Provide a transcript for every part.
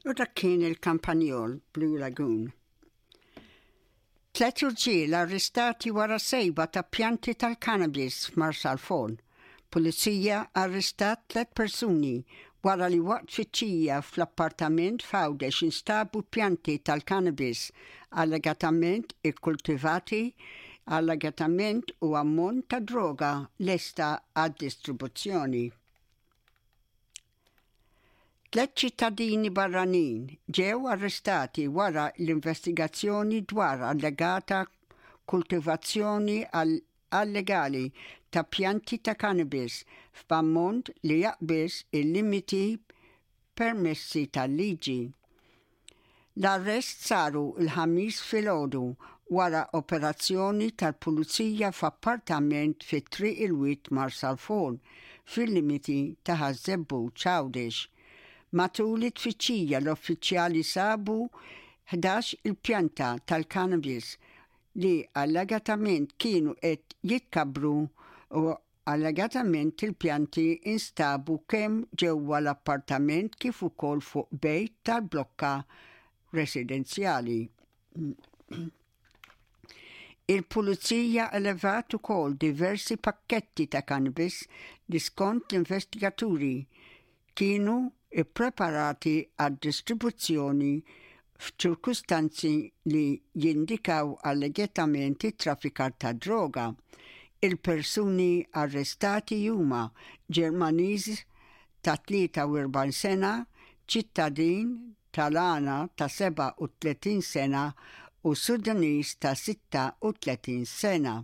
U dak kien il-Kampanjol Blue Lagoon. Tlet irġiel arrestati wara sejba ta' pjanti tal-cannabis f'Marsalforn. Pulizija arrestat tlet persuni wara li waqt tfittxija fl-appartament f'Għawdex instabu pjanti tal-cannabis allegatament ikkultivati allegatament u ammont ta' droga lesta għad-distribuzzjoni. Tlet ċittadini barranin ġew arrestati wara l-investigazzjoni dwar allegata kultivazzjoni allegali ta' pjanti ta' cannabis f'ammont li jaqbiż il-limiti permessi tal-liġi. L-arrest saru l-Ħamis filgħodu wara operazzjoni tal-Pulizija f'appartament fi Triq il-Wied Marsalforn, fil-limiti ta' Ħaż-Żebbuġ Għawdex. Matul it-tfittxija l-uffiċjali sabu 11 il-pjanta tal-cannabis li allegatament kienu qed jitkabbru u Allegatament il-pjanti instabu kemm ġewwa l-appartament kif ukoll fuq bejt tal-blokka residenzjali. Il-Pulizija elevat ukoll diversi pakketti ta' cannabis li skont l-investigaturi kienu ppreparati għad-distribuzzjoni f'ċirkustanzi li jindikaw allegatament it-traffikar tad-droga. Il-persuni arrestati huma Ġermaniż ta' 43 sena, ċittadin tal-Għana ta' 37 sena u Sudaniż ta' 36 sena.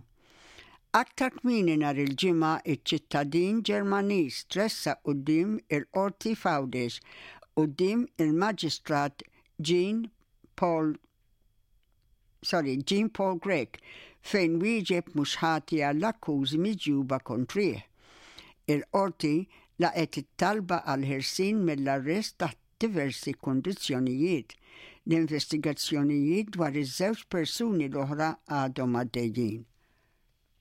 Aktar kmieni nhar il-Ġimgħa iċ-ċittadin Ġermaniż tressaq quddiem il-Qorti f'Għawdex quddiem il-Maġistrat Jean Paul sorry, Jean Paul Grech fejn wieġeb mhux ħati għall-akkużi miġjuba kontrih. Il-Qorti laqgħet it-talba għall-ħelsien mill-arrest taħt diversi kundizzjonijiet. L-investigazzjonijiet dwar iż-żewġ persuni l-oħra għadhom għaddejjin.